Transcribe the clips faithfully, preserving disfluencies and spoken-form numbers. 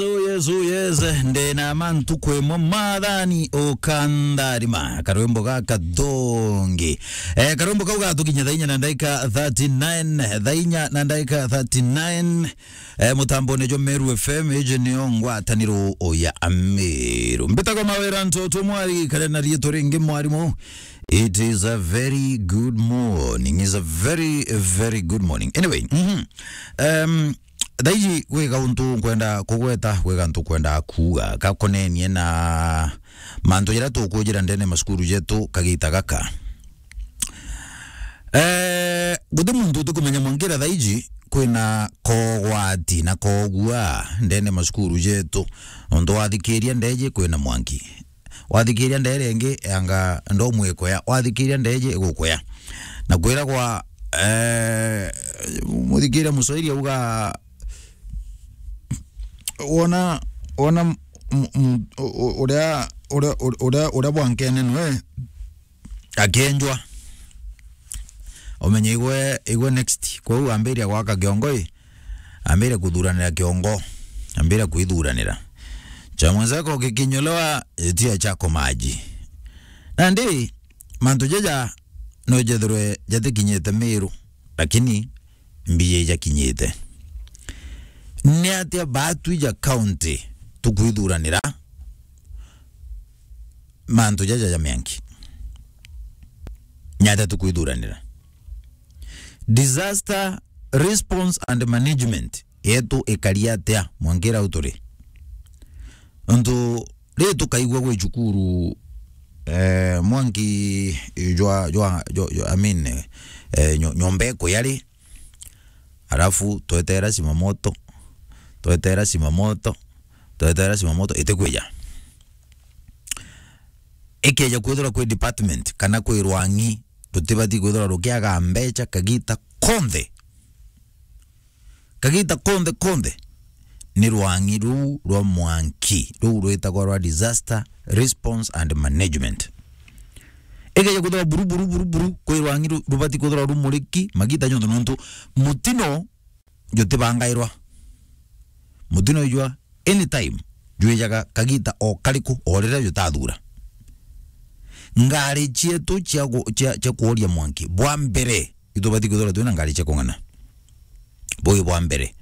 Oh yes, oh yes. Ndena mantu kwimwe mathani ukantharima. Karwimbo gaka thongi. Eh, karwimbo kau gatukinya thaa inya na ndaika thirty-nine. Thaa inya na ndaika thirty-nine. Eh, mutambone jwa Meru F M, iji niyo ngwataniro ya Meru. Mbitagwa Mawira Ntoto Mwari, kare na riitwa ringi mwarimu. It is a very good morning. It's a very, very good morning. Anyway, mhm. Um, thaiji gwi gauntu nkwenda kugweta, gwi gantu nkwenda kuuga gakonenie na mantu jaria tukujira ndene macukuru jetu kagita gaka. Eh, guti muntu utikumenya mwangira thaiji kwina kogwati na kogua ndene macukuru jetu. Nontu wathikiria ndeji kwina mwanki. Wathikiria ndere ingi, anga ndomwikoya. Wathikiria ndeji igukoya. Na kwiragwa, eh, muthikiria Muswahili auga, wona, wona m-, m-, m-, u-, u-, uria, uria, uria, uria, uria bwankene nwe akenjwa. Umenye igwe, igwe next. Kwou ambiria gwaka kiongo i, ambiria kuthuranira kiongo, ambiria kwithuranira. Cha mwenzako kikinyolewa, itia chako maji. Nandi, mantu jaja no jethirwe jatikinyite Meru, lakini mbiji ijakinyite. Ni atia baatwi ja county tukwithuranira mantu jaja ja mianki? Ni atia tukwithuranira? Disaster response and management yetu ikari atia mwangira u turi? Nontu ri tukaigua gwi cukuru, eh, mwanki jwa, jwa, jwa, jwa, I mean, eh, nyo-, nyomba ikuya ri, alafu twetera simamoto, twetera simamoto, twetera simamoto, itikwija. Ikeja kwithirwa kwi department kana kwi rwang'i, rutibati kwithirwa rukiaga mbecha kagita konthe. Kagita konthe konthe ni rwang'i ruu rwa mwanki, ruu rwitagwa rwa disaster response and management. Ikeja kwithirwa buru, buru, buru, buru, kwi rwang'i ru-, rubati kwithirwa rumuriki magita jonthe, nontu mutino jutibangairwa. Mutino ijwa anytime, jwijaga kagita o kariku, o riria jutathura. Ngari cietu cia gu-, cia, cia kuoria mwanki, bwa mbere, itubati kwithirwa twina ngari cia kung'ana. Bui bwa mbere.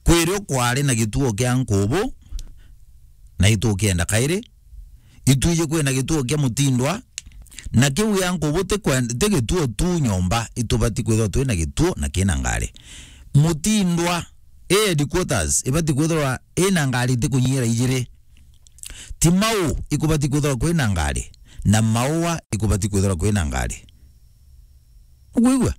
Kwirio kwari na gituo kia nkubu, na itukienda kairi, itwiji kwina gituo kia Mutindwa, na kiu gia nkubu ti kwen-, ti gituo tu nyomba, itubati kwithirwa twina gituo na kina ngari. Mutindwa, i headquarters, ibati kwithirwa ina ngari itikunyiira ijiri. Timau ikubati kwithirwa kwina ngari, na Maua ikubati kwithirwa kwina ngari. Nukwigua?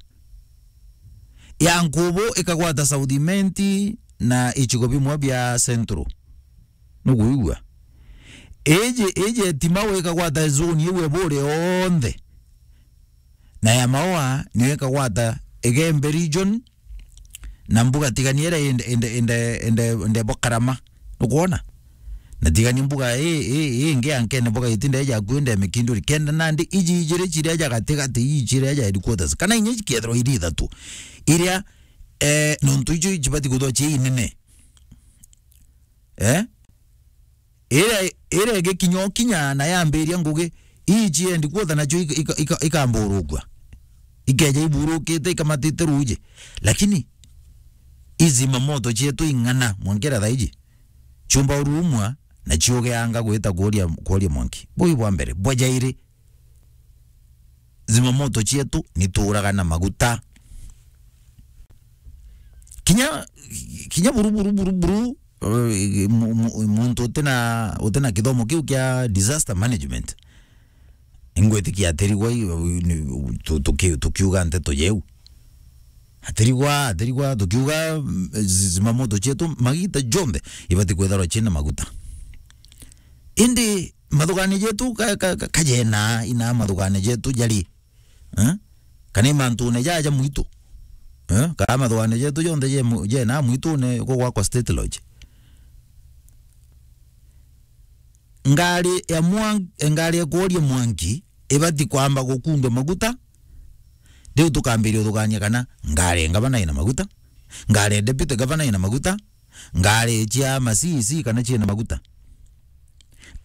Ya nkubu ikagwata South Imenti na icigo bimwe bia Central. Nukwigua? Iji, iji Timau ikagwata zone iu ebure yonthe. Na ya Maua niyo ikagwata Igembe region, na mbuga tigania iria inde, inde, inde, inde, inde bo Karama. Nukwona? Na tigania mbuga i, i, i ingi ya nkene mbuga itinda ija akui inde Mikinduri. Kenda nandi iji ijiri ciria ja gatigati, iji ciria ja headquarters. Kana inya ikethirwa iri ithatu. Iria, eh, nontu icio icibati kwithirwa ci inene. Eh? Iria, iria igikinya ukinya na yambiria ngugi, ii ciendi kwotha nacio ika-, ika-, ika-, ikamburukua. Ikeja iburukite, ikamatite ruuji. Lakini, izi mamoto cietu ing'ana, mwankera thaiji. Ciumba urumwa, na ciugeanga gwita kuoria, kuoria mwanki. Bui bwa mbere. Bwa jairi, zimamoto cietu nituuraga na maguta. Kinya, kinya buru, buru, buru, buru, eh, mu-, mu-, muntu utina, utina kithomo kiu kia disaster management, ingwitikia atirigwa i-, ni-, tu-, tuki-, tukiuga nteto yeu. Atirigwa, atirigwa, tukiuga, mm, zi-, zimamoto cietu, magita jonthe, ibati kwithirwa ciina maguta. Indi, mathugania jetu ka, ka, ka, kajena, ina mathugania jetu jari, eh? Kana i mantune jaja mwitu, eh? Kana mathugania jetu jonthe je mu-, jena mwitune kugwakwa State Lodge. Ngari ya mwan-, ngari ya kuoria mwanki ibati kwamba gukundwa maguta, riu tukambiria uthugania kana ngari ya ngavana ina maguta, ngari ya deputy governor ina maguta, Ngari cia masisi kana ciina maguta.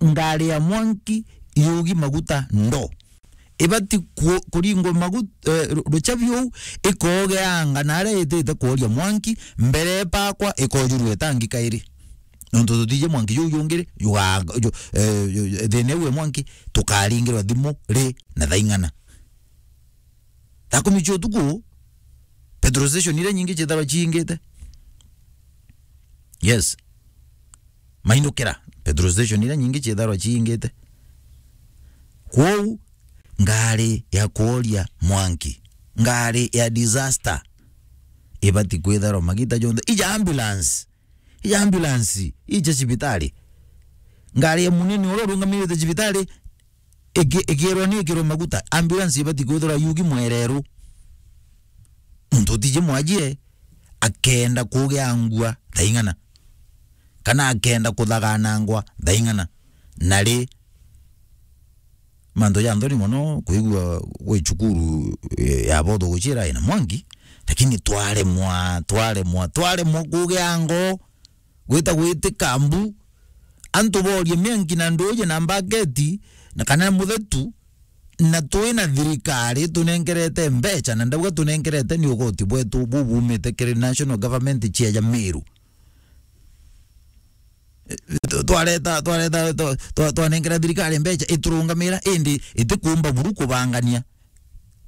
Ngari ya mwanki yugi maguta ndo. Ibati ku-, kuringwa maguta, eh, ru-, ruchabi uu, ikogeanga na aria itite kworia mwanki, mbere ipakwa ikojurwa itangi kairi. Nontu tutiji mwanki juu jungi ri, juga-, ju-, eh, ju-, thina iu e mwanki, tukaringirwa thimu ri na thaa ing'ana? Thaa kumi cia utuku, petrol station iria nyingi ciitharwa ciingite. Yes. Mainukira, petrol station iria nyingi ciitharwa ciingite. Kwou, ngari ya kworia mwanki, ngari ya disaster, ibati kwitharwa magita jonthe. Ija ambulance, ija ambulance, ija cibitari. Ngari ya munene uria urungamirite cibitari, iki-, ikirwa ni ikirwe maguta, ambulance ibati kwithirwa yugi mwereru. Muntu utiji mwajie akenda kugiangua thaa ing'ana, kana akenda kuthaganangwa thaa ing'ana. Na ri, mantu ja nthoni mono kwigua gwi cukuru, eh, ya botho gucira ina mwangi, lakini twaremwa, twaremwa, twaremwa kugia ngoo. Gwita gwitika mbu, antu borie mianki na nduuji na mbaketi, na kana muthetu, na twina thirikari tunenkerete mbecha, na ndauga tunenkerete ni ugoti bwetu bu bumite kiri national government cia ja Meru. Eh, twareta, twareta, twa-, twa-, twanenkera thirikari mbecha iturungamira, indi itikumba buru kubangania.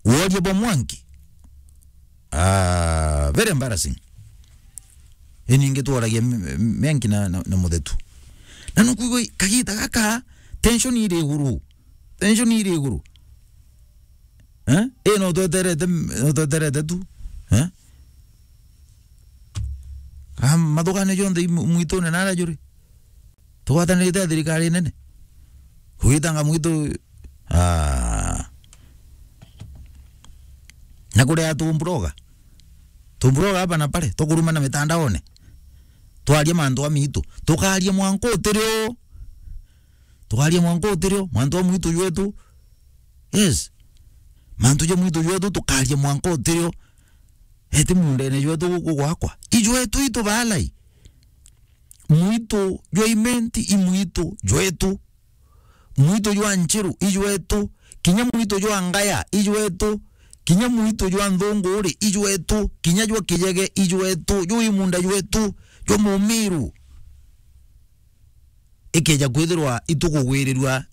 Woria bwa mwanki. Ah, very embarrassing. Ini ingi tworagia m-, m-, mianki na, na, na muthetu. Na nukwigua kagita gaka, tension iri iguru. Tension iri iguru. Eh? Eh, no tweterete, no tweterete tu. Eh? Ah, mathugania jonthe i mu-, mwitune nara juri. Tugwatanirite na thirikari nene. Kugitanga mwitu, ah. Na kuria tumburoga. Tumburoga hapa na pale, tukurumana mitandaone. Twaria mantu a mitu. Tukaria mwanka utirio. Tukaria mwanka utirio, mantu a mwitu jwetu. Yes. Mantu ja mwitu jwetu tukaria mwanka utirio. Eti mundene jwetu guku gwakwa. Ijwetu itu balai. Mwitu jwa Imenti i mwitu jwetu. Mwitu jwa Nchiru i jwetu. Kinya mwitu jwa Ngaya i jwetu. Kinya mwitu jwa Nthunguri i jwetu. Kinya jwa Kijege i jwetu. Juu i munda jwetu. Jwa Mumiru. Ikeja kwithirwa itukugwirirua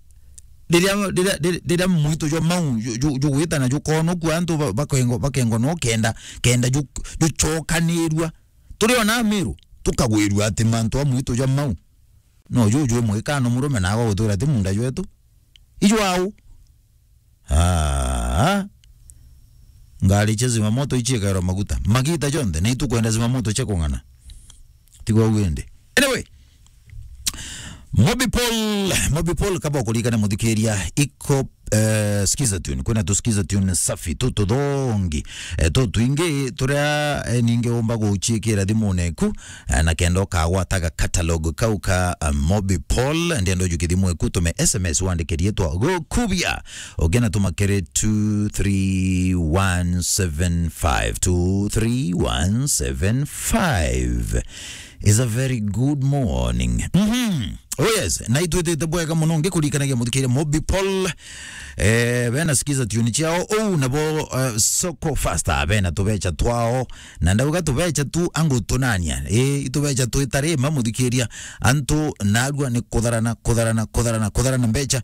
riria, riria, riria, riria mwitu jwa mau ju-, ju-, jugwita na jukonokua antu ba-, bakengo-, bakengwa no kenda, kenda ju-, jucokanirua. Turi ona Meru, tukagwirua ati mantu a mwitu jwa mau. No juju mwikano murume naagwa gutwira ati munda jwetu. Ijwau. Ah. Ngari cia zimamoto iciikairwa maguta. Magita jonthe, na itukwenda zimamoto cia kung'ana. Tigwa ugu indi. Anyway, Mobi Paul, Mobi Paul, kaba ukuririkane muthikiria, iko, eh, skiza tune. Kwina tu skiza tune safi, tu tuthongi, eh, tu twingi, turia, eh, ningi umba guciikira thimune eku, eh, na kenda ukagwataga catalog kau ka, eh, Mobi Paul, ndienda ujuke thimu eku, tume S M S wandike riitwa gukubia. Ugena tuma kiri two three one seven five, two three one seven five. Is a very good morning. Mhm. Oh yes, na itwitite bwega muno ngikurikanagia muthikiria Mobi Paul. Eh, bena skiza tune ciao. Oh, nabo, eh, Soko Faster, bena tubecha twao. Na ndauga tubecha tu angu tunania. Eh, itubecha twitari ma muthikiria. Antu narua ni kutharana, kutharana, kutharana, kutharana mbecha.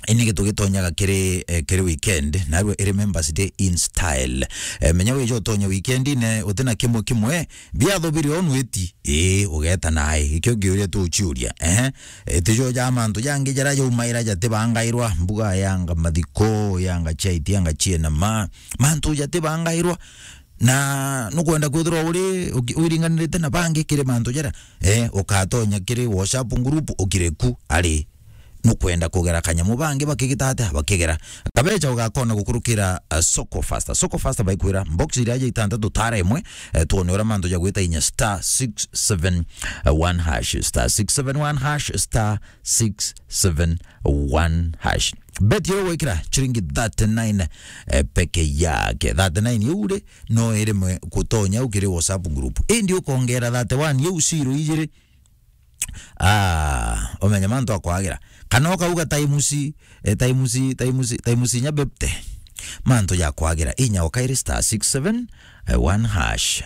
Ini gitugitonyaga kiri, eh, kiri weekend, narua iri Members Day in style. Eh, menya wija utonye weekend-ine, utina kimwe kimwe, biatho biri o nwiti, ii, ugeta nae. Ikio ngiuria tu uciuria. Ehe. Itijo ja mantu jangi jara jaumaira jatibangairwa, mbuga yanga mathiko, yanga chaiti, yanga chienama. Mantu jatibangairwa. Na nukwenda kwithirwa uri, uki-, wiringanirite na bangi kiri mantu jara, eh, ukatonya kiri WhatsApp group ukire ku ari. nukwenda kugera kanyamu, bangi bakigita atia bakigera. Kabecha ugakona gukurukira, uh, Soko Faster. Soko Faster baikwira box iria ja itantatu tara imwe, eh, twone uria mantu ja gwita inya star six seven one hash, star six seven one hash, star six seven one hash. Bet yo gwikira chiringi thirty-nine, eh, peke yake. Thirty-nine iu ri, no irimwe kutonya ukiri WhatsApp group. Indi ukongera thirty-one iu zero ijiri, ah, umenye mantu akwagira. Kana ukauga times, eh, times, times, times inya fifty. Mantu jakwagira. Inya ukairi star six seven one hash.